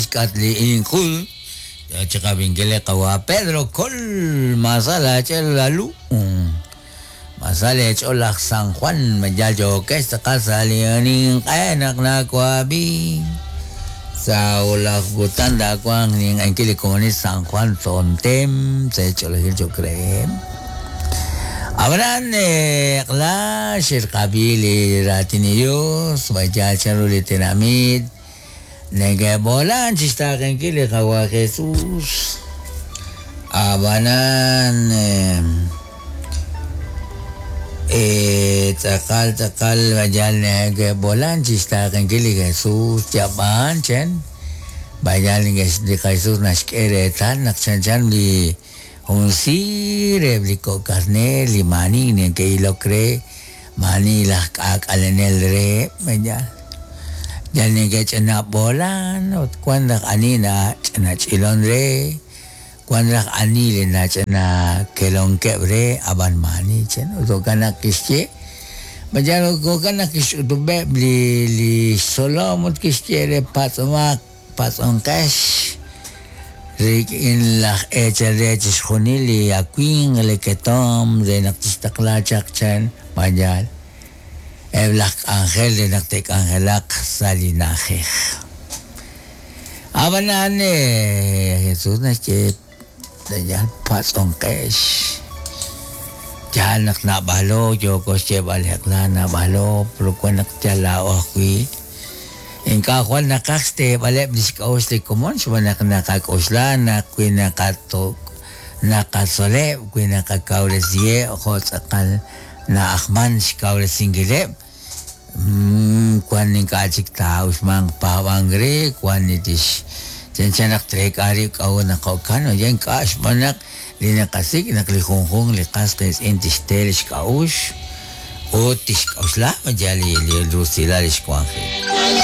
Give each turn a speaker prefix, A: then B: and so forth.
A: Xk'atq li inqul yo chi qab'inkil li qawa' Pedro Col Maasal aach'el lalu Maasal eech'ol laj San Juan ma yal yookex tz'aqal sa' li ninq'e naq nawab'i sa' wulaj kutan taawanq ninq'enkil li komonil San Juan Tzontem sa' eech'olejil cho'q reheb'. Ab'anan eq'la xe'rqab'i li raatin li Yos ma yaal chanru li tenamit Neke'b'oolan chi xtaaqenkil li Qawa' Jesus. Ab'anan, tz'aqal tz'aqal yal neke'b'oolan chi xtaaqenkil li Jesus, yab'aan chen, b'ayal li Jesus naxk'e reetal naq chanchan li jun siir eb' li kok' karneer li maani neke'ilok re Maani laj k'aak'alenel reheb', yal yal neke'ch'ina b'oolan ut wan raj ani nach'ina ch'ilon re, wan raj ani li nach'ina kelonkeb' re, ab'an maani chan. Ut jo'kan naq kixye, ma yal jo'kan naq kixch'utub'eb' li li xtzolom ut kixye re, Patz'omaq, patz'onqex rik'in laj eechal re chixjunil li awimq li ketomq re naq tixtaqla chaq chan ma yaal eb' laj k'anjel re naq te'k'anjelaq sa' li na'ajej. Ab'anan Jesús naxye yal patz'onqex. Yaal naq naab'alo yooko xyeeb'al eq'la naab'alo, pero wan naq yal laa'o ajwi'. Ink'a' jwal naqaj xteeb'aleb' li xk'a'uxl li komon xb'aan naq naqak'oxla naq wi naqatzoleb', wi naqakawresiheb' jo' tz'aqal na'ajman xkawresinkileb', wan ink'a' chik taa'uxmanq paab'ank re, wan li tix chanchan naq treek'a rib' k'a'ut naq jo'kan, oye ink'a' xb'aan naq li naqasik' naq li junjunq li qas qiitz'in tixte li xk'a'uxl ut tixk'oxla yal li rusilal li xwanjik.